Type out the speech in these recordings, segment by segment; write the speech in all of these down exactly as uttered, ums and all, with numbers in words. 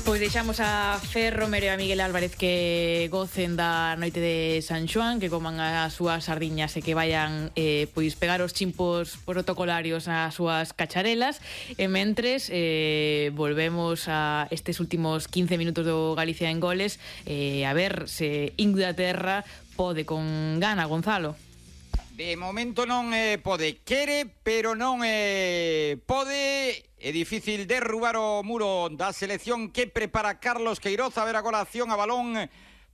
Pois deixamos a Fer Romero e a Miguel Álvarez que gocen da noite de San Xoán, que coman as súas sardiñas e que vayan eh, pois pegar os chimpos protocolarios ás súas cacharelas. E mentres eh, volvemos a estes últimos quince minutos do Galicia en Goles, eh, a ver se Inglaterra pode con gana, Gonzalo. De momento non eh, pode, quere, pero non eh, pode. É difícil derrubar o muro da selección que prepara Carlos Queiroz. A ver agora a acción a balón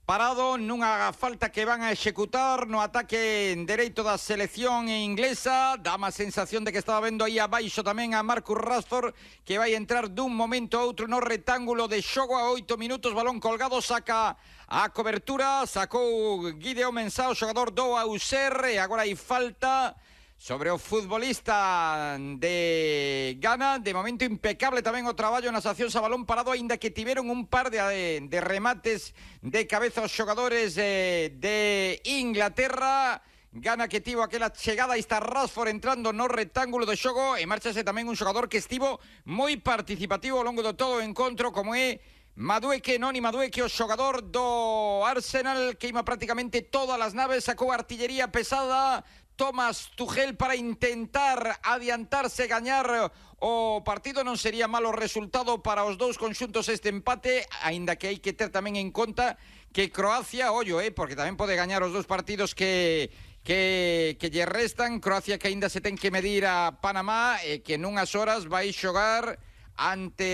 parado nunha falta que van a executar no ataque dereito da selección inglesa. Dá má sensación de que estaba vendo aí abaixo tamén a Marcus Rashford, que vai entrar dun momento a outro no retángulo de xogo a oito minutos. Balón colgado, saca a cobertura, sacou Gideon Mensah, o xogador do Auxerre, e agora hai falta sobre o futbolista de Ghana. De momento impecable tamén o traballo nas accións a balón parado, aínda que tiveron un par de, de remates de cabeza os xogadores eh, de Inglaterra. Ghana que tivo aquela chegada, aí está Rashford entrando no retángulo de xogo, e marchase tamén un xogador que estivo moi participativo ao longo de todo o encontro, como é Madueke, Noni Madueke, o xogador do Arsenal, que ima prácticamente todas as naves, sacou artillería pesada Thomas Tuchel para intentar adiantarse, gañar o partido. Non sería malo resultado para os dous conxuntos este empate, aínda que hai que ter tamén en conta que Croacia, ollo, eh, porque tamén pode gañar os dous partidos que que que lle restan. Croacia que aínda se ten que medir a Panamá, e que nunhas horas vai xogar ante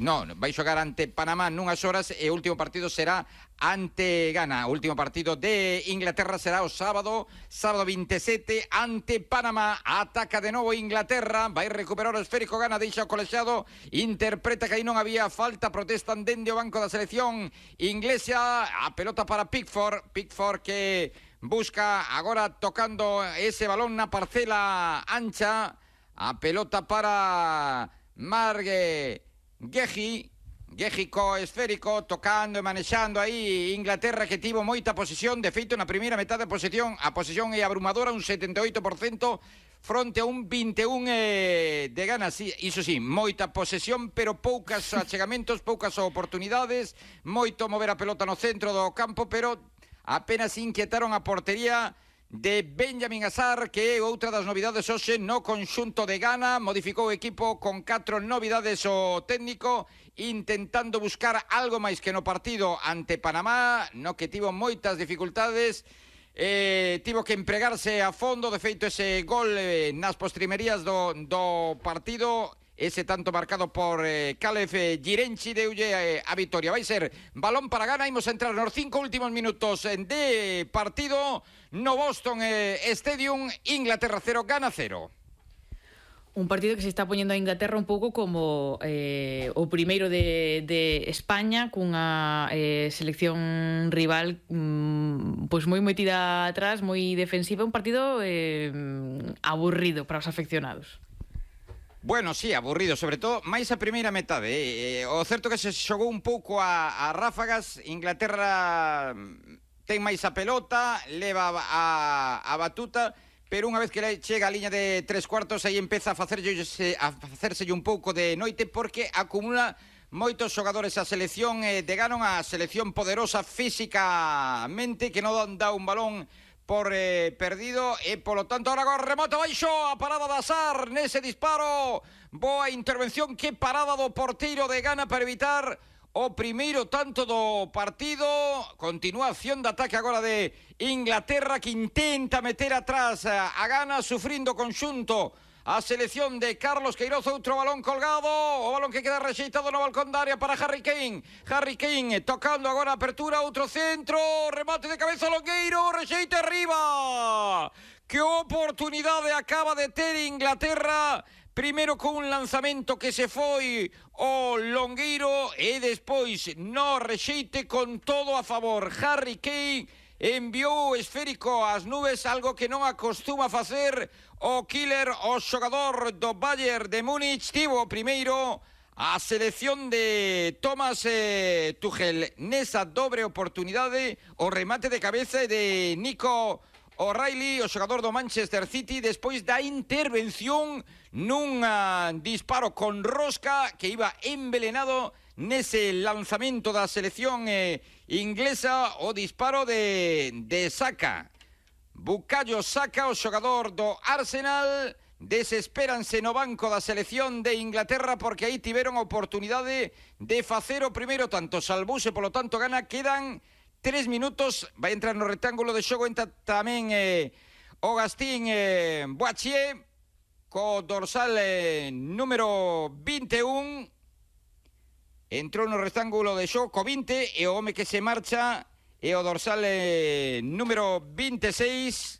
no, vai xogar ante Panamá nunhas horas, e o último partido será ante Ghana. O último partido de Inglaterra será o sábado, sábado veintisiete, ante Panamá. Ataca de novo Inglaterra, vai recuperar o esférico Ghana, deixa o colexiado, interpreta que aí non había falta, protestan dende o banco da selección inglesa. A pelota para Pickford, Pickford que busca agora tocando ese balón na parcela ancha. A pelota para Marge Gehi, Gehi co esférico, tocando e manexando aí Inglaterra, que tivo moita posesión. De feito, na primeira metade de posesión, a posesión é abrumadora, un setenta e oito por cento fronte a un vinte e un eh, de Ghana. Sí, iso sí, moita posesión, pero poucas achegamentos, poucas oportunidades, moito mover a pelota no centro do campo, pero apenas inquietaron a portería de Benjamin Hazard, que é outra das novidades hoxe no conxunto de Ghana. Modificou o equipo con catro novidades o técnico, intentando buscar algo máis que no partido ante Panamá, no que tivo moitas dificultades. Eh, tivo que empregarse a fondo. De feito, ese gol eh, nas postrimerías do, do partido, ese tanto marcado por eh, Caleb eh, Girenchi, deulle eh, a vitoria. Vai ser balón para Ghana. Imos a entrar nos cinco últimos minutos de partido no Boston eh, Stadium. Inglaterra cero, Ghana cero. Un partido que se está poñendo a Inglaterra un pouco como eh, o primeiro de, de España, cunha eh, selección rival mm, pois moi metida atrás, moi defensiva. Un partido eh, aburrido para os afeccionados. Bueno, sí, aburrido, sobre todo máis a primeira metade. Eh, o certo que se xogou un pouco a, a ráfagas. Inglaterra ten máis a pelota, leva a, a batuta, pero unha vez que chega a liña de tres cuartos, aí empeza a facerse, a facerse un pouco de noite, porque acumula moitos xogadores a selección eh, de Ghana, a selección poderosa físicamente, que non dá un balón por eh, perdido, e polo tanto ahora agora remata baixo, a parada de Hazard nese disparo. Boa intervención, que parada do porteiro de Ghana para evitar o primeiro tanto do partido. Continuación de ataque agora de Inglaterra, que intenta meter atrás a Ghana, sufrindo conxunto a selección de Carlos Queiroz. Outro balón colgado, o balón que queda rexeitado no balcón da área para Harry Kane. Harry Kane tocando agora a apertura, outro centro, remate de cabeza Longueiro, rexeite arriba. Que oportunidade acaba de ter Inglaterra, primeiro con un lanzamento que se foi o Longueiro, e despois no rexeite con todo a favor. Harry Kane enviou o esférico ás nubes, algo que non acostuma facer o killer, o xogador do Bayern de Múnich. Tivo primeiro a selección de Thomas eh, Tuchel nesa dobre oportunidade, o remate de cabeza de Nico O'Reilly, o xogador do Manchester City, despois da intervención nun uh, disparo con rosca que iba envenenado nese lanzamento da selección eh, inglesa, o disparo de, de Saka. Bukayo Saka, o xogador do Arsenal, desespéranse no banco da selección de Inglaterra porque aí tiveron a oportunidade de facer o primeiro tanto. Salvouse, polo tanto, Ghana. Quedan tres minutos, vai entrar no rectángulo de xogo, entra tamén eh, o Gastín eh, Boachier, co dorsal eh, número vinte e un, entrou no rectángulo de xogo co vinte, e o home que se marcha é o dorsal eh, número vinte e seis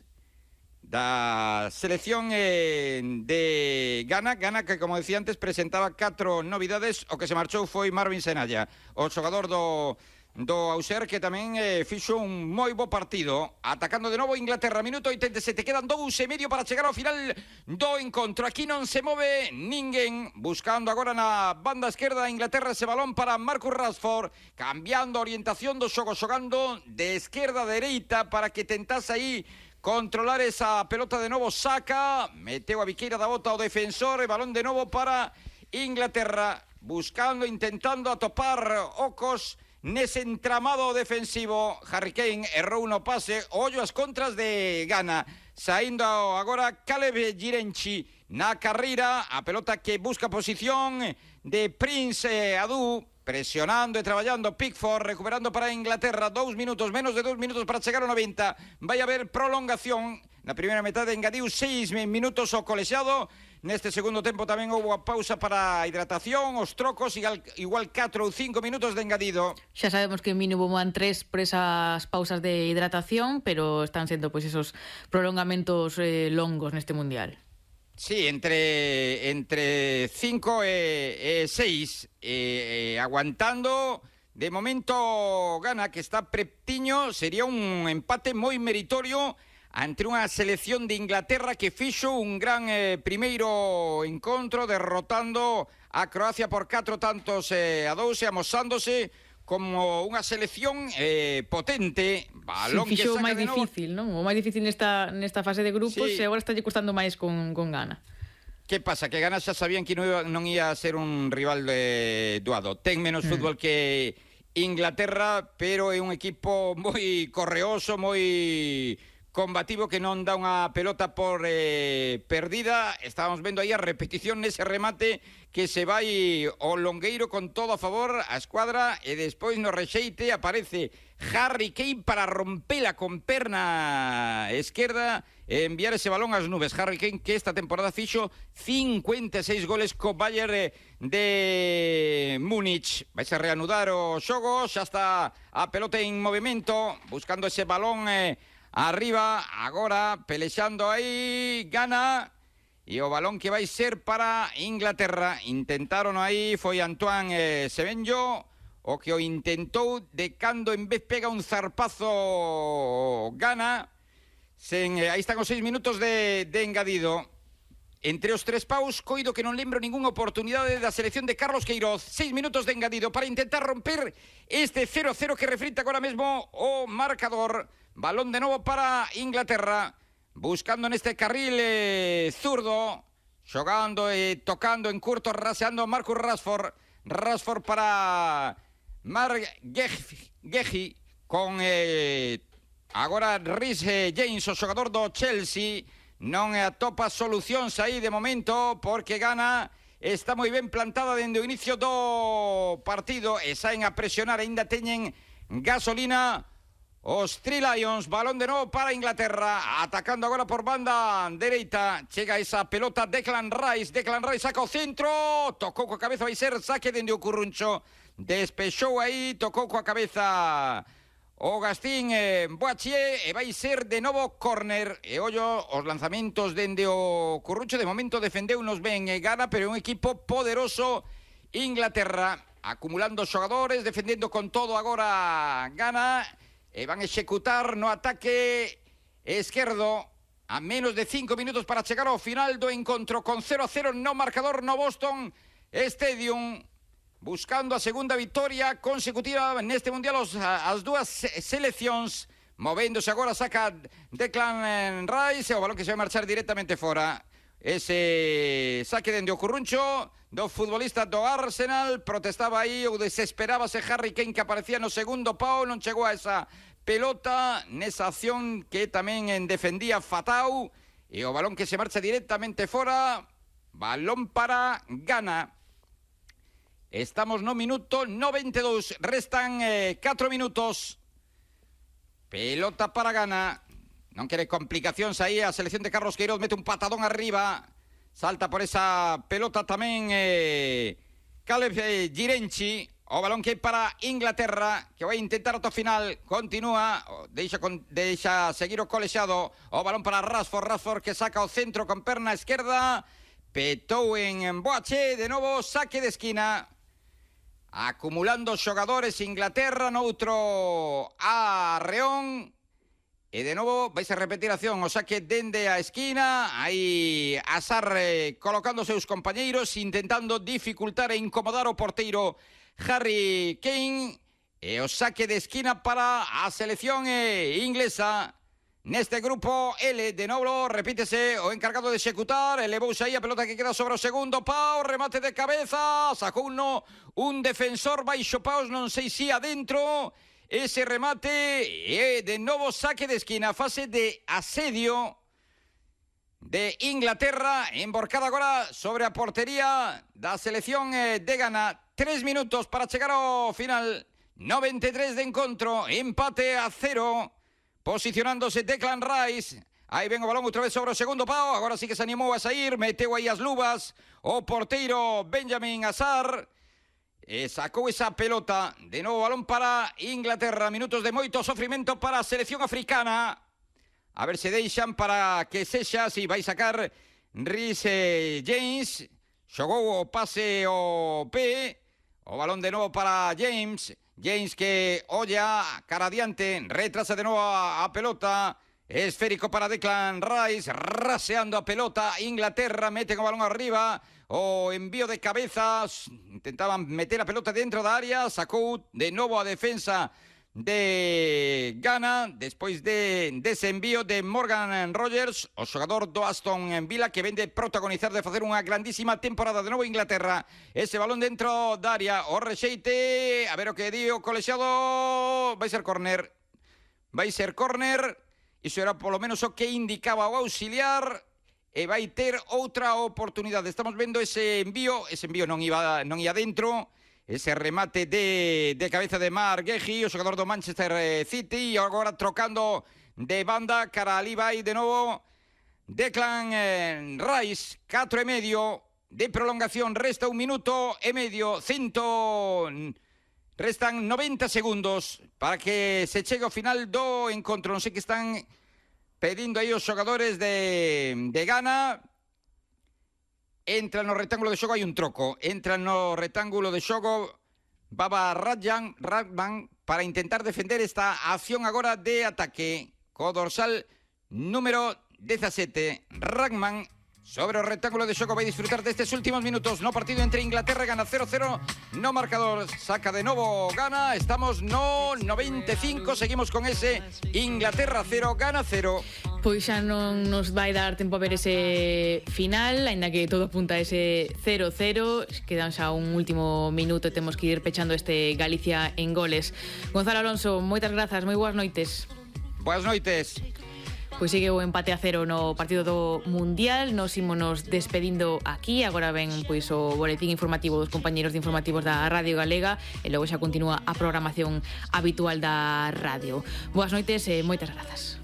da selección eh, de Ghana. Ghana que, como decía antes, presentaba catro novidades. O que se marchou foi Marvin Senalla, o xogador do do Auxerre, que tamén eh, fixo un moi bo partido. Atacando de novo Inglaterra, minuto oitenta e sete, quedan dous e medio para chegar ao final do encontro. Aquí non se move ninguén, buscando agora na banda esquerda Inglaterra ese balón para Marcus Rashford, cambiando a orientación do xogo, xogando de esquerda a dereita para que tentase aí controlar esa pelota. De novo Saka, meteu a biqueira da bota o defensor, e balón de novo para Inglaterra, buscando, intentando atopar ocos nese entramado defensivo. Harry Kane errou no pase. Ollo as contras de Ghana, saindo agora Caleb Girenchi na carreira, a pelota que busca posición de Prince Adu, presionando e traballando Pickford, recuperando para Inglaterra. Dous minutos, menos de dous minutos para chegar ao noventa. Vai haber prolongación. Na primeira metade engadiu seis minutos o colexiado. Neste segundo tempo tamén houve a pausa para a hidratación, os trocos, igual, igual catro ou cinco minutos de engadido. Xa sabemos que mínimo van tres por esas pausas de hidratación, pero están sendo pois esos prolongamentos eh, longos neste Mundial. Sí, entre entre cinco e seis, eh, eh, aguantando. De momento Ghana, que está pretiño, sería un empate moi meritorio ante unha selección de Inglaterra que fixo un gran eh, primeiro encontro, derrotando a Croacia por catro tantos eh, a dous, e amosándose como unha selección eh, potente. Balón sí, fixo que saca máis de novo. difícil, non? O máis difícil nesta, nesta fase de grupos, sí. E agora está lle costando máis con, con Ghana. Que pasa? Que Ghana xa sabían que non iba, non ia ser un rival eh, doado. Ten menos mm. fútbol que Inglaterra, pero é un equipo moi correoso, moi combativo, que non dá unha pelota por eh, perdida. Estábamos vendo aí a repetición nese remate que se vai o longueiro con todo a favor a escuadra, e despois no rexeite aparece Harry Kane para rompela con perna esquerda e enviar ese balón ás nubes. Harry Kane, que esta temporada fixo cincuenta e seis goles co Bayern de Múnich. Vais a reanudar o xogo, xa está a pelota en movimento, buscando ese balón eh, arriba, agora pelexando aí Ghana, e o balón que vai ser para Inglaterra. Intentaron aí, foi Antoine eh, Semenyo o que o intentou, de cando en vez pega un zarpazo Ghana. Sen, eh, aí están os seis minutos de, de engadido. Entre os tres paus, coido que non lembro ninguna oportunidade da selección de Carlos Queiroz. Seis minutos de engadido para intentar romper este cero cero que refrita agora mesmo o marcador. Balón de novo para Inglaterra, buscando neste carril eh, zurdo, xogando e eh, tocando en curto, raseando Marcus Rashford. Rashford para Mark Gehi, con eh, agora Rhys eh, James, o xogador do Chelsea. Non atopa solucións aí de momento, porque Ghana está moi ben plantada dende o inicio do partido e saen a presionar, aínda teñen gasolina os Three Lions. Balón de novo para Inglaterra, atacando agora por banda dereita. Chega esa pelota Declan Rice, Declan Rice saca o centro, tocou coa cabeza, vai ser saque dende o Curruncho. Despexou aí, tocou coa cabeza o Gastín eh, Boachier, e vai ser de novo córner. E ollo os lanzamentos dende o Curruncho. De momento defendeu nos ben e Ghana, pero é un equipo poderoso Inglaterra, acumulando xogadores, defendendo con todo agora Ghana, e van a executar no ataque esquerdo a menos de cinco minutos para chegar ao final do encontro, con cero a cero no marcador no Boston Stadium, buscando a segunda victoria consecutiva neste Mundial. Os, as dúas seleccións movéndose agora, saca Declan Rice, o balón que se vai marchar directamente fora. Ese saque dende o curruncho do futbolista do Arsenal. Protestaba aí ou desesperábase Harry Kane, que aparecía no segundo pau, non chegou a esa pelota nesa acción que tamén defendía Fatau, e o balón que se marcha directamente fora. Balón para Ghana. Estamos no minuto noventa e dous, restan eh, catro minutos. Pelota para Ghana. Non quere complicacións aí a selección de Carlos Queiroz, mete un patadón arriba, salta por esa pelota tamén eh, Caleb eh, Girenchi. O balón que é para Inglaterra, que vai intentar ata o final, continúa, deixa, con, deixa seguir o colexado. O balón para Rashford, Rashford que saca o centro con perna esquerda, petou en Boache, de novo saque de esquina. Acumulando xogadores Inglaterra, noutro arreón. E de novo vais a repetir a acción, o saque dende a esquina, aí Hazard eh, colocando seus compañeiros, intentando dificultar e incomodar o porteiro Harry Kane, e o saque de esquina para a selección eh, inglesa. Neste grupo L, de novo, repítese o encargado de executar, elevouse aí a pelota que queda sobre o segundo pau, remate de cabeza, sacou uno, un defensor baixo paus, non sei si adentro. Ese remate, e de novo saque de esquina, fase de asedio de Inglaterra, emborcada agora sobre a portería da selección de Ghana. Tres minutos para chegar ao final, noventa e tres de encontro, empate a cero, posicionándose Declan Rice. Aí ven o balón outra vez sobre o segundo pau, agora sí que se animou a sair, meteu aí as luvas o porteiro Benjamin Hazard. E sacou esa pelota, de novo balón para Inglaterra, minutos de moito sofrimento para a selección africana. A ver se deixan para que sexa, si vai sacar Reece James, xogou o pase o pé, o balón de novo para James, James que olla cara adiante, retrasa de novo a, a pelota, esférico para Declan Rice, raseando a pelota, Inglaterra mete o balón arriba, o envío de cabezas, intentaban meter a pelota dentro da área, sacou de novo a defensa de Ghana, despois de dese envío de Morgan Rogers, o xogador do Aston Villa, que vende protagonizar de facer unha grandísima temporada. De novo Inglaterra, ese balón dentro da área, o rexeite, a ver o que di o colexiado, vai ser córner, vai ser córner, iso era polo menos o que indicaba o auxiliar, e vai ter outra oportunidade. Estamos vendo ese envío, ese envío non iba non ia dentro, ese remate de, de cabeza de Marc Guehi, o xogador do Manchester City, e agora trocando de banda, cara ali vai de novo Declan eh, Rice, catro e medio de prolongación, resta un minuto e medio, cento... restan noventa segundos para que se chegue ao final do encontro. Non sei que están pedindo aí os xogadores de, de Ghana. Entra no rectángulo de xogo, hai un troco. Entra no rectángulo de xogo Baba Radjan, Radman, para intentar defender esta acción agora de ataque. Co dorsal número dezasete, Radman, sobre o rectángulo de xogo vai disfrutar destes últimos minutos no partido entre Inglaterra e Ghana. Cero cero no marcador, saca de novo Ghana. Estamos no noventa e cinco, seguimos con ese Inglaterra cero, Ghana cero. Pois xa non nos vai dar tempo a ver ese final, aínda que todo apunta a ese cero cero. Quedan xa un último minuto e temos que ir pechando este Galicia en goles. Gonzalo Alonso, moitas grazas, moi boas noites. Boas noites. Pois sigue o empate a cero no partido do Mundial. Nos ímonos despedindo aquí. Agora ven pois o boletín informativo dos compañeros de informativos da Radio Galega e logo xa continúa a programación habitual da radio. Boas noites e moitas grazas.